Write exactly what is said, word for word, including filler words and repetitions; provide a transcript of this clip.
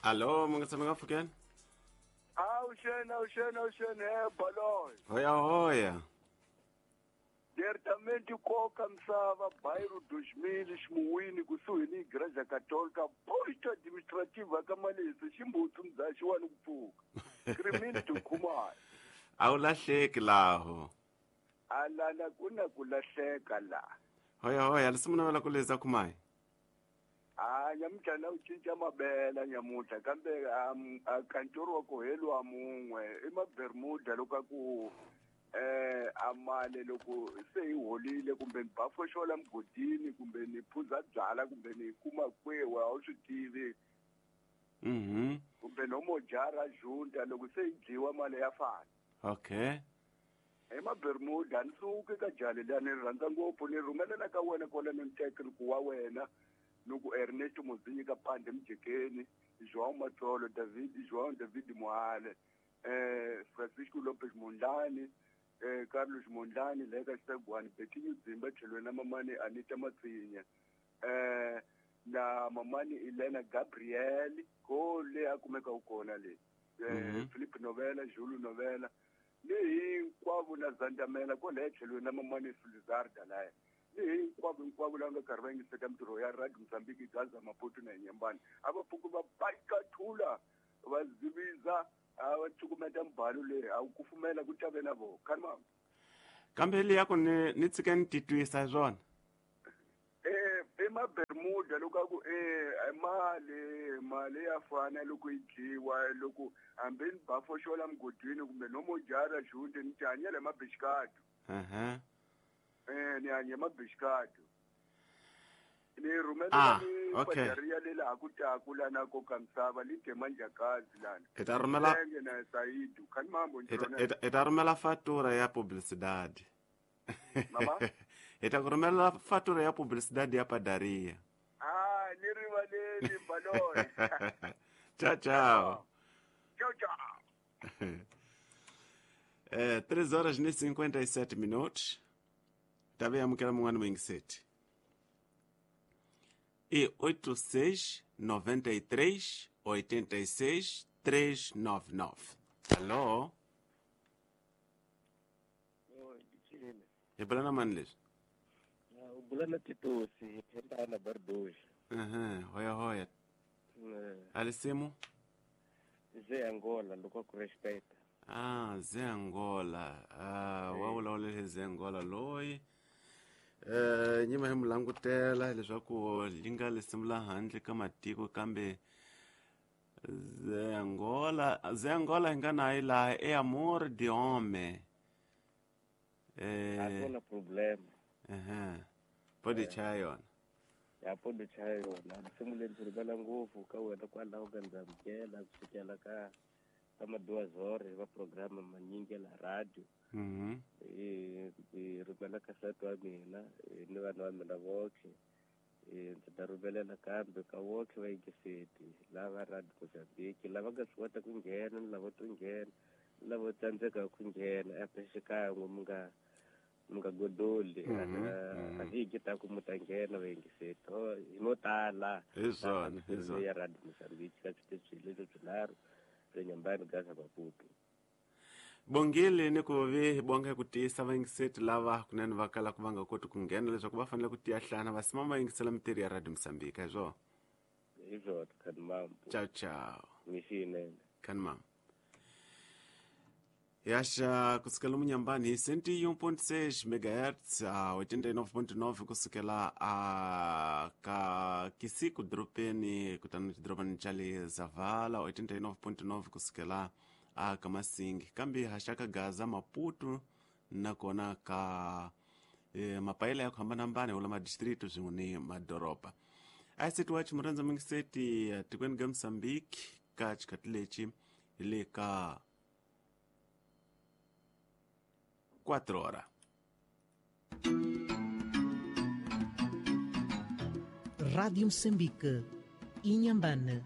Alô, mungatsama ngafukeni? Awuxena, awuxena, awuxena, he Baloyi. Hoya hoya. Diretamente koka misava bairro dois mil ximuwini kusuhi ni Igreja Católica, posto administrativo ka Malesi, ximbutsu mdzaxi wa ni ku pfuka. Crimini Tukumai. A wu lahleki laho. Alala ku na ku lahleka la. Hoya hoya, lesimu navela ku leza kumai. Ah, nyamutlha na u cinca mabela nyamutlha kambe a kantoro wa ku heliwa mun'we i mabermuda loko a ku eh amale loko se hi holile kumbe ni bafoxola mugodini kumbe ni phuza byala kumbe ni kuma kwewa a wu swi tivi. Mhm. Kumbe no mojara junta loko se yi dyiwa mali ya fana. Okay. I mabermuda ni suki ka jali liya ni rhandza ngopfu ni rhumelela ka wena kwala ni ni ku wa wena. Nuku Ernesto Muzinyi ka Pande Mjekeni, João Matsolo, David, João David Moale, eh, Francisco Lopes Mondlane, eh, Carlos Mondlane, Leka Segwani, Betinho Zimba, Chelwena Mamani, Anita Matsinya, eh, na Mamani Elena Gabriel, ko le akumeka ukona le, eh, mm -hmm. Felipe Novela, Júlio Novela, le hinkwavo na Zandamela, ko le Chelwena Mamani Sulizarda la. Hinkwavo hinkwavo lava nga karhi va yingiseka mintirho ya Radio Mozambique, Gaza, Maputo na Inhambane. A va pfuki va baikathula va ziviza a va cukumeta mbalo leyi a wu kufumela ku tave na vona khani. Kambe liya ku ni ni tshike ni titwisa hi swona. Eh, i mabermuda loko a ku eh mali mali ya fana loko yi dyiwa loko hambi ni bafoxola mugodini kumbe no mojara junte ni tihanyela hi mabixikado. Uh-huh. Eh, ni hanye mabixikado. Ni rhumela ah, ni okay. padaria le laha ku taku lana koka misava li te manjakazi lana. I ta rhumela na Saidu khani mambo i ta rhumela fatura ya publicidade. Mama? I ta ku rhumela fatura ya publicidade ya padaria. Ah, ni rivaleli Baloyi. Tchau, tchau. Tchau, tchau. Eh, três horas e cinquenta e sete minutos. Tabe amukela mun'wana muyingiseti. E oito seis noventa e três oitenta e seis três nove nove. Alô? Oi, Dicile. E bulana mani leswi? U bulana Titosi, phembana Bardoshi. Aham, hoya hoya. Alisimu? Ze Angola, loko ku respecta. Ah, Ze Angola. Ah, wa vulavulele Ze Angola loyi. Eh, nyima hi mulangutela leswaku li nga lisimu la handle ka matiko kambe Ze Angola, Ze Angola hi nga na yi laha e amor de homem. Eh, a ku na problema. Eh, pode chaya yona. Ya pode chaya yona. Lisimu leri ndzi rivela ngopfu ka wena kwalaho ka ndzamukela ku sukela ka ka duas horas va programa manyingi la radio. Mhm. Eh, eh rhumela ka nsati wa mina ni vana va mina voxe. Eh, ndzi ta rhumelela kambe ka voxe va yingiseti lava Radio Mozambique lava nga swi kota ku nghena ni lava to nghena ni lava tsandzeka ku nghena ape xikan'we mi nga mi nga godoli a hi ta ku mu ta nghena va yingiseti hi mo tala. Hi swona, hi swona. Ya Radio Mozambique ka switichi leswi swinharhu Inhambane, Gaza, Maputo. Bongile ni ku vi bonga ku tiyisa vayingiseti lava kunene va kala ku va nga koti ku nghena leswaku va fanele ku tiya hlana va sima va yingisela mintirho ya Radio Mozambique hi swona. Hi swona, khani mambo. Tchau, tchau. Mixinene. Khani mambo. Yaxa kusukela Munhambane hi cento e um ponto seis megahertz a oitenta e nove ponto nove kusukela a ka Kisiku dropeni kutani xidorobani xa le Zavala oitenta e nove ponto nove kusukela a ka Masingi kambe haxa ka Gaza Maputo nakona ka eh, mapayela ya ku hambanahambana wula madistrito swin'we ni madoroba. A seti wa chimurandza mingiseti tikweni ga Mozambique ka xikhathi lexi hi le ka quatro horas. Rádio Moçambique, Inhambane.